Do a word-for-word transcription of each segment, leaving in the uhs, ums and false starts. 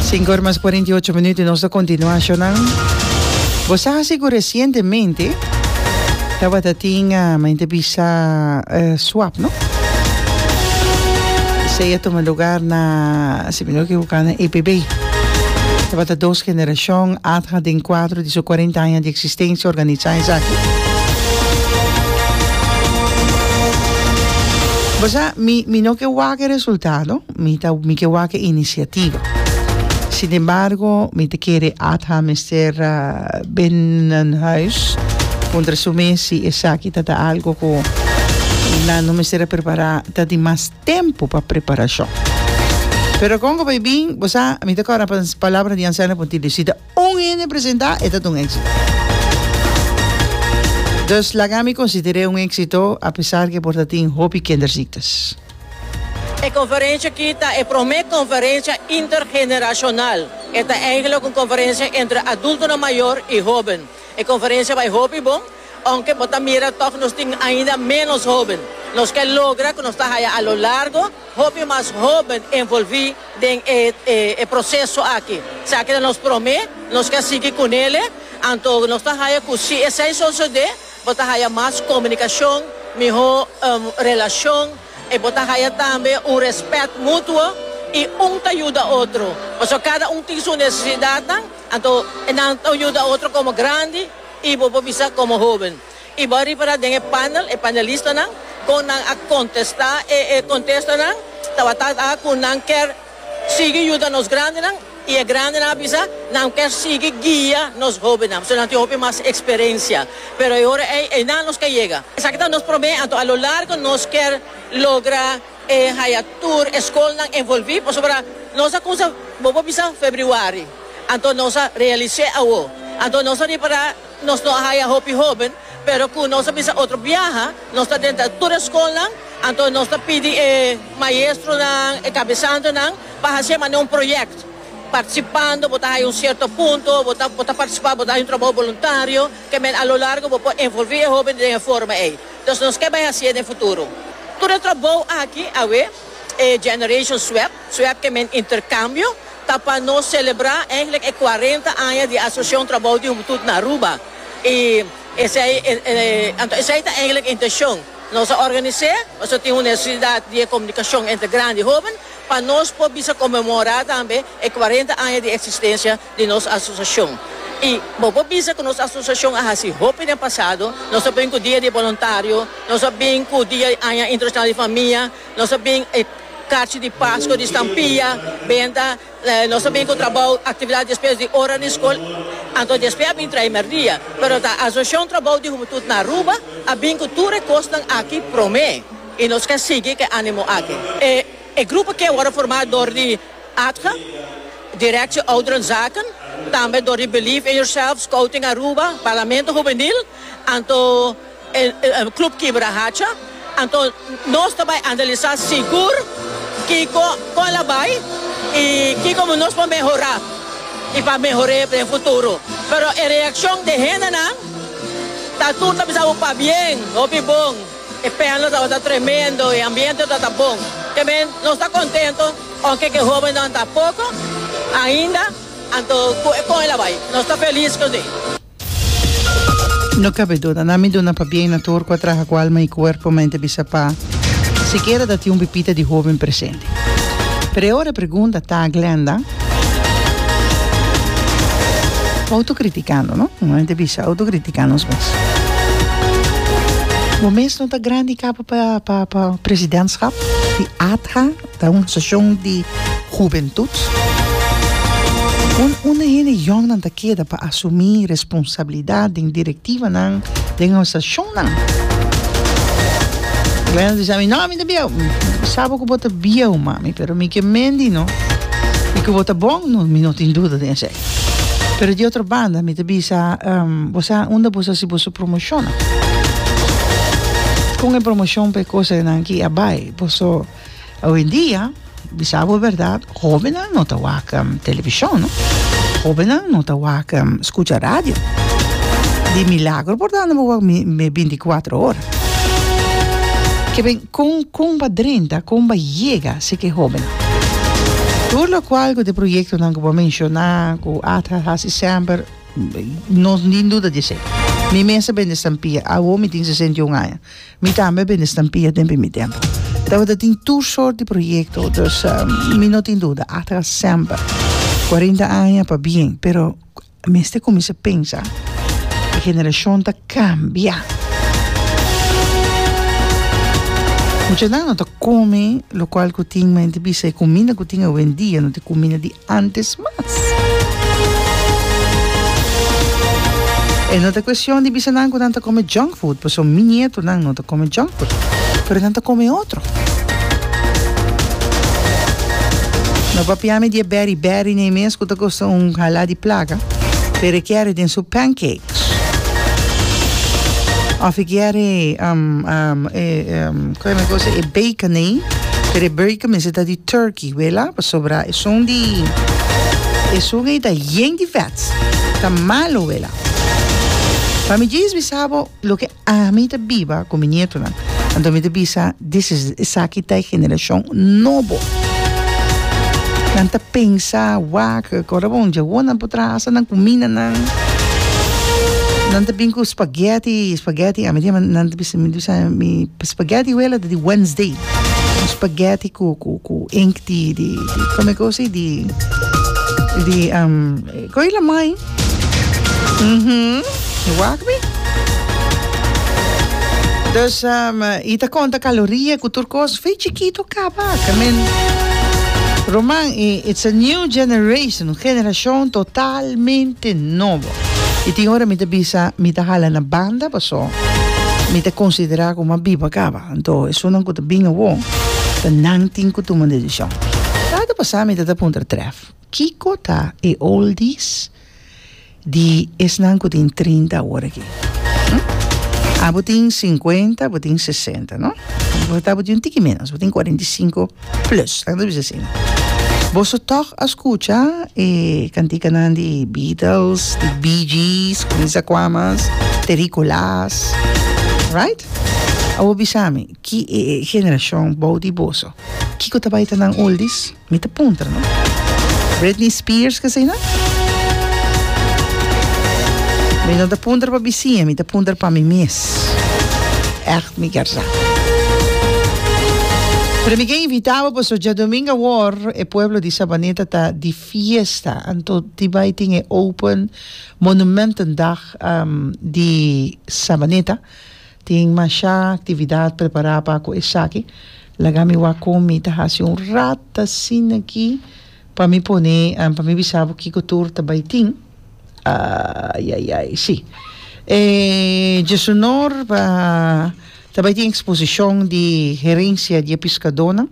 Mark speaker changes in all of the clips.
Speaker 1: Sinku or mas kuarenta i ocho minuut i nos ta kontinuá shownan. Bo sa hasi ku resientemente tabata tin mi ta bisa swap no? Esei a tuma lugar na, si mi no ekivoká, na E P B. Tabata dos generashon ATHA den kuadro di su kuarenta aña di eksistensia organisá esaki. Bo sa, mi mi no ke wak e resultado. Mi ta mi ke wak e inisiativa. Sin embargo, mi ta kere ATHA mester binnenhuis puntra su mes si esaki ta ta algo ku nan no mester a prepará, ta di mas tempu pa preparashon. Pero kon ku bai bin, bo sa, mi ta kòrda pa palabra di Anselmo Pontilio, si ta un hende presentá, e ta ta un éksito. Dus laga mi konsider'é un éksito apesar ke por ta tin hopi kinderziektes.
Speaker 2: E conferencia aki ta e prome conferencia intergeneracional. E ta eigenlijk un conferencia entre adultonan mayor y hoben. E conferencia bay hopi bon, aunke bo ta mira toch nos tin ainda menos hoben. Nos ke logra cu nos ta haya a lo largo hopi mas hoben envolvi den e e proceso aki. Esaki ta nos prome, nos ke sigui cunele, anto nos ta haya cu si esey sosode, bo ta haya mas comunicacion, miho relacion. E bo ta haya tambe un respet mutuo y un ta yuda otro. Pasobra cada un tin su necesidadnan, anto nan ta yuda otro como grandi y bo por bisa como hoben. Y bo a ripara den e panel, e panelistanan, con nan a contesta e e contestanan tabata ta cu nan kier sigui yuda nos grandinan y e grandinan a bisa nan kier sigui guia nos hobennan, pasobra nan tin hopi mas experiencia. Pero e ora ey, eynan nos ke yega. Esaki ta nos prome, anto a lo largo nos kier logra e haya tur e scolnan envolvi, pasobra nos a cuminsa, bo por bisa februari, anto nos a realis'e awo. Anto nos a ripara nos no a haya hopi hoben, pero cu nos a bisa otro biaha nos ta drenta tur e scolnan, anto nos ta pidi e maestronan, e cabesantenan pa haci'e manera un proyect. Participando bo ta haya un cierto punto, bo ta bo ta participa, bo ta haya un trabou voluntario, ke men a lo largo bo por envolvi e hoben den e forma ey. Dus nos ke bay haci'e den futuro. Tur e trabou aki awe, e Generation Swap, swap ke men intercambio, ta pa nos celebra eigenlijk e cuarenta aña di Asociacion Trabou di Hubentud na Aruba. Y esey, anto esey ta eigenlijk e intencion. Nos a organis'é, pasobra tin un necesidad di e comunicacion entre grandi y hoben, pa nos por bisa conmemora tambe e cuarenta aña di existencia di nos asociacion. Y bo por bisa cu nos asociacion a haci hopi den pasado. Nos a bin cu Dia di Voluntario, nos a bin cu Dia Aña Internacional di Famia, nos a bin e carchi di Pasco di stampia, benta, nos a bin cu trabou, actividad despues di ora di scol, anto despues a bin trae merdia. Pero ta Asociacion Trabou di Hubentud na Aruba a bin cu tur e cosnan aki prome y nos ke sigui cu e animo aki. E e grupo aki a worde forma door di ATGA, Directie Ouderenzaken, tambe door di Believe in Yourself, Scouting Aruba, Parlamento Hubenil, anto e Club Kibrahacha. Anto nos ta bai analisa sigur kico con la bai y kico nos por mehora y pa mehore den futuro. Pero e reaccion di hendenan ta tur ta bisa bo pabien, hopi bon, e panel tabata tremendo, e ambiente tabata bon. Ke men nos ta contento, aunke ke hobennan ta poco ainda, anto cu e con el a bai. Nos ta feliz cu esey.
Speaker 1: No cabe duda, nan mi duna pabien na tur cu a traha cu alma y cuerpo mente bisa pa sikiera ta tin un pipita di hoben presente. Pero e ora e pregunta ta, Glenda, autocriticando, no? Mente bisa, autocritica nos mes. Bo mes no ta grandi caba pa, pa, pa presidentschap di ATHA, ta un asociacion di hubentud. Un unda hende yòngnan ta keda pa asumí responsabilidat den direktivanan den asosiashonnan? Glenda ta bisa mi, No, mi ta bieu. Mi sa bo ku bo ta bieu, mami, pero mi ke mendi no. I ku bo ta bon, no, mi no tin duda den esei. Pero di otro banda mi ta bisa, bo sa unda bo sa hasi boso promoshonnan? Kon e promoshon pa e kosanan aki a bai? Boso awendia. Bisa bo berdad, hobennan no ta wak televishon no. Hobennan no ta wak skucha radio. Di milagro por ta anda bo wak binti kuater ora. Ke ben kon kon ba drenta, kon ba yega si ke hobennan. Tur lokual ku e proyektonan ku bo a menshoná, ku ATHA hasi semper, no tin duda di esei. Mi mes a bende stampia, awo mi tin sesenta i un aña. Mi tambe a bende stampia den mi tempu. Tabata tin tur sort di proyekto, dus mi no tin duda, ATHA semper. Kuarenta aña pa bien, pero mester kuminsá pensa, e generashon ta kambia. Muchanan no ta kome lokual ku tin, mi ta bisa e kuminda ku tin awendia no ta e kuminda di antes mas. E no ta kuestion di bisa nan ku nan ta kome junk food, pasobra mi nietonan no ta kome junk food, pero nan ta kome otro. No papia mi di e berry berry nei mes ku ta kosta un hala di plaka, pero e kier den su pancakes. Of e kier e um, um, e, um, koe mi kosa, e bacon nei, pero e bacon mester ta di turkey, wela, pasobra esun di, esun ei ta yen di vet, ta malo, wela. Pa mi djis bisa bo loke ami ta biba ku mi nietonan. Anto mi ta bisa, this is, esaki ta e generashon nobo. Nan ta pensa, wak, kora bon, djawo nan por traha hasta nan kumindanan. Nan ta bin ku spaghetti, spaghetti, ami ta yama, nan ta bisa, mi ta bisa, mi spaghetti wela ta di Wednesday. Un spaghetti ku, ku, ku ink di, di, di, kome kos ei, di, di, um, koe lamai. Mhm, wak mi. Dus, um, i ta konta kaloria ku tur kos, fe chikito kaba, ke men, Roman, i it's a new generation, un generashon totalmente nobo. I tin ora mi ta bisa, mi ta hala na banda paso mi ta konsiderá ku mi a biba kaba. Anto esunnan ku ta bin awor, ta nan tin ku tuma desishon. Rato pasá mi ta ta puntra Tref, kiko ta e oldies di esnan ku tin trinta awor aki? Abo tin sinkuenta, bo tin sesenta, no? Bo ta bo tin un tiki ménos, bo tin kuarenta i sinku plus, laga nos bisa asina. Boso tòg a skucha e kantikanan di Beatles, di Bee Gees, kuminsa kua mas, Terikolaas, right? Awor bisa mi, ki e generashon bou di boso, kiko ta bai ta nan oldies? Mi ta puntra, no? Britney Spears k'esei nan? Mi no ta puntra pa bisiña, mi ta puntra pa mi mes. Ègt mi kier sa. Pero mi ke invitá bo pasobra djadumingu awor e pueblo di Sabaneta ta di fiesta. Anto di bai tin e Open Monumentendag di Sabaneta. Tin masha aktividat prepará pa ku esaki. Laga mi wak kon mi ta hasi un rat asina aki pa mi pone, pa mi bisa bo kiko tur ta bai tin. Ai ai ai, si. E djesunor pa ta bai tin eksposishon di herensia di e piskadónan.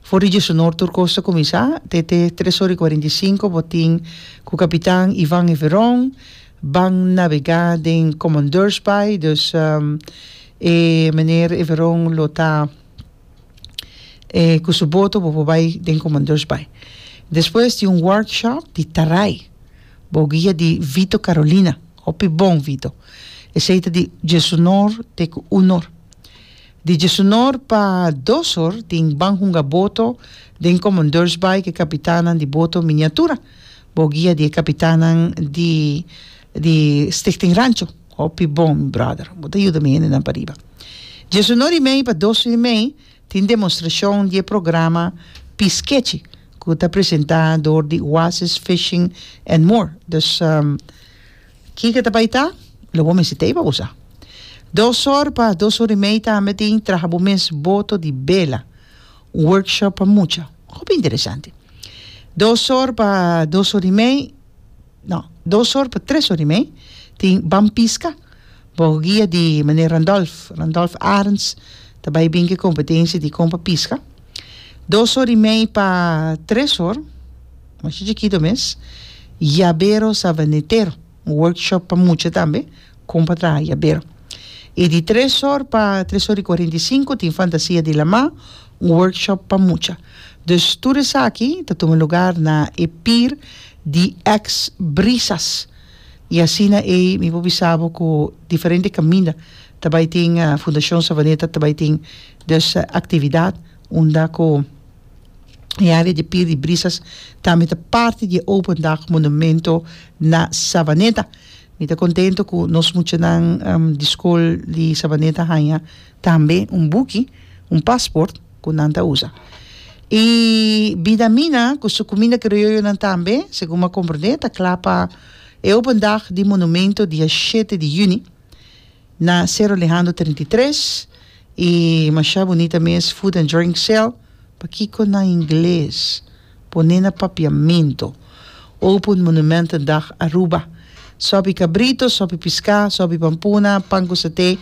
Speaker 1: For di djesunor tur kos ta kuminsá, te te tres ora i kuarenta i sinku bo tin ku kapitan Ivan Everon ban nabegá den Commandeursbaai. Dus e meneer Everon lo ta ku su boto bo por bai den Commandeursbaai. Despues tin un workshop di tarai bou guia di Vito Carolina. Hopi bon Vito. Esei ta di djesunor te ku unor. Di djesunor pa dos or tin ban hunga boto den Commandeursbaai ku e kapitannan di boto miniatura bou guia di e kapitannan di di Stichting Rancho. Hopi bon mi brother. Bo ta yuda mi hendenan pariba. Djesunor i mei pa dos i mei tin demostrashon di e programa Piskechi ku ta presentá dor di Oasis Fishing and More. Dus kiko ta bai ta? Lo bo mester tei pa bo sa. Dos or pa dos or i mei tambe tin traha bo mes boto di bela, un workshop pa mucha. Hopi interesante. Dos or pa dos or i mei, no, dos or pa tres or i mei tin Ban Piska bou guia di meneer Randolph, Randolph Arends ta bai bin ku e kompetensia di kon pa piska. Dos or i mei pa tres or, masha chikito mes, Yabero Sabanetero, un workshop pa mucha tambe, kon pa traha yabero. I di tres or pa tres or i kuarenta i sinku tin Fantasia di Lamá, un workshop pa mucha. Dus tur esaki ta tuma lugar na e pir di ex Brisas. I asina ei mi por bisa bo ku diferente kaminda ta bai tin Fundashon Savaneta ta bai tin dus aktividat unda ku E area di Pier di Brisas tambe ta parti di Open Dag Monumento na Savaneta. Mi ta contento cu nos muchanan um, di school di Savaneta haya tambe un buki, un paspoort cu nan ta usa. Y Bidamina, cu su cuminda crioyo nan tambe, segun mi a comprende, ta cla pa e Open Dag di Monumento dia shete di juni na Cerro Alejandro trinta i tres y masha bunita mes food and drink sale. Pakico na ingles? Pone na papiamento. Open Monumentendag Aruba. Sopi cabrito, sopi pisca, sopi pampuna, pan cu saté,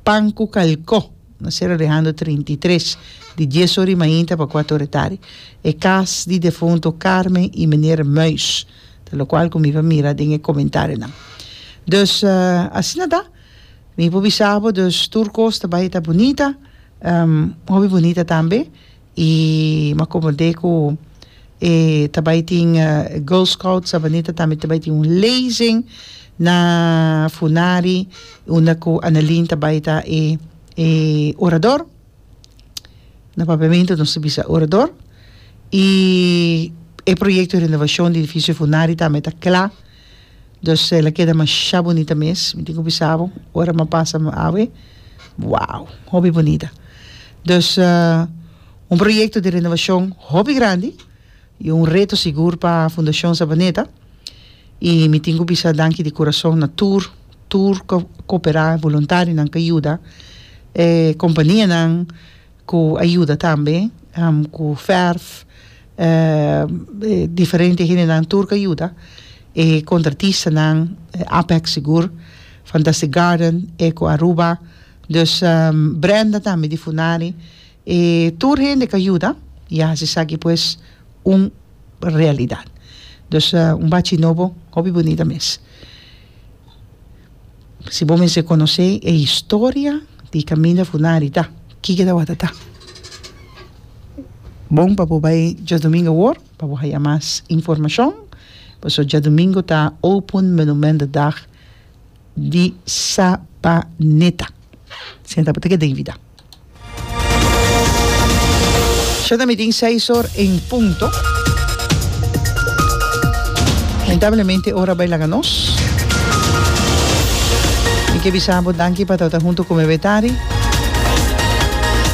Speaker 1: pan cu calco. Na Cerro Alejandro trinta i tres, di dies ora y mainta pa cuatro ora tardi. E cas di defunto Carmen y meneer Muis. Ta locual cu mi a mira den e comentarionan. Dus uh, asina ta. Mi por bisa bo, dus tur cos ta bay ta bunita. Um, hopi bunita tambe. Y m'a comprende cu e ta bay tin uh, Girl Scouts Savaneta tambe ta bay tin un lezing na Funari, unda cu Annelien ta bay ta e, e orador. Na papiamento nos ta bisa orador. Y e proyecto di renovacion di edificio Funari tambe ta cla. Dus el a keda masha bunita mes. Mi tin cu bisa bo, ora m'a pasa awe. Wow, hopi bunita. Dus uh, un proyecto di renovacion hopi grandi y un reto sigur pa Fundacion Savaneta. Y mi tin cu bisa danki di curason na tur, tur cu coopera, voluntarionan cu a yuda, eh, companianan cu a yuda tambe, um, cu verf, eh, diferente hendenan tur cu a yuda, e contratistanan, eh, Apex sigur, Fantastic Garden, Eco Aruba, dus um, Brenda tambe di Funari, e tur hende cu a yuda, y a haci esaki pues un realidad. Dus uh, un bachi nobo, hopi bunita mes. Si bo mester conoce e historia di caminda Funari ta, kico ta ta. Bon pa bo bay diadomingo awor, pa bo haya mas informacion. Paso diadomingo ta Open Monumentendag di Savaneta. Senta pa te invita. Ya ta mitin seis or en punto. Lamentablemente ora a bay laga nos. Mi ke bisa bo danki pa ta hunto cu mi betari.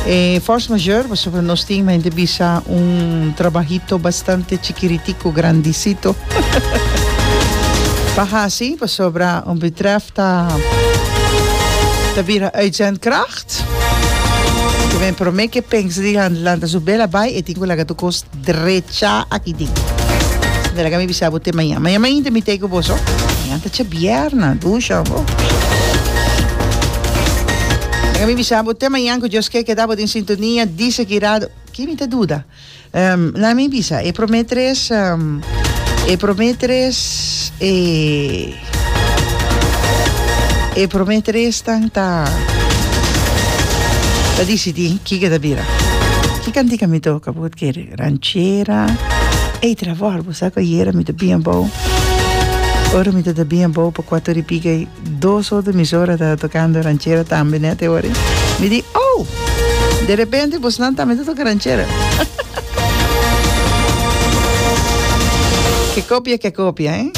Speaker 1: Eh, force majeure, pasobra nos tin mente bisa un trabajito bastante chikiritico, grandicito. Pa hasi, pasobra un betreft ta ta bira uitzendkracht. Ik ben prome ke pensa di han lanta su bela bai e tin cu laga tur cos drecha aki den. De laga mi bisa bo te mañan. Mañan mainta mi t'ey cu boso. Mañan ta djabièrnè, dusha bo. Laga mi bisa bo te mañan cu Dios ke keda bo den sintonia di Sekirado. Ki mi ta duda? Um, laga mi bisa, e prome tres, um, e prome tres, e, e prome tres tan ta, ta dicidi kico ta bira. Ki cantica mi toca, bo kere? Ranchera. Ei, Trevor, bo sa cu ayera mi ta bien abou. Ora mi ta bien abou pa cuatro y pico, dos otro emisora ta tocando ranchera tambe net e ora. Mi di, oh, de repente bosnan tambe ta toca ranchera. Que copia, que copia, eh?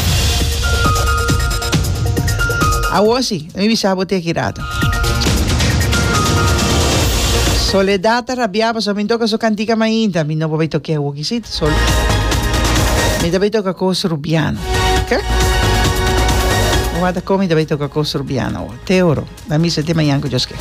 Speaker 1: Awor si, mi bisa bo te aki rato. Soledad ta rabia pasobra mi toca su cantica mainta. Mi no por bay toca awor aki si, sol. Mi ta bay toca cos rubiano, ok? Wata con mi ta bay toca cos rubiano awor. Te oro. Na misa te mañan cu Dios ke.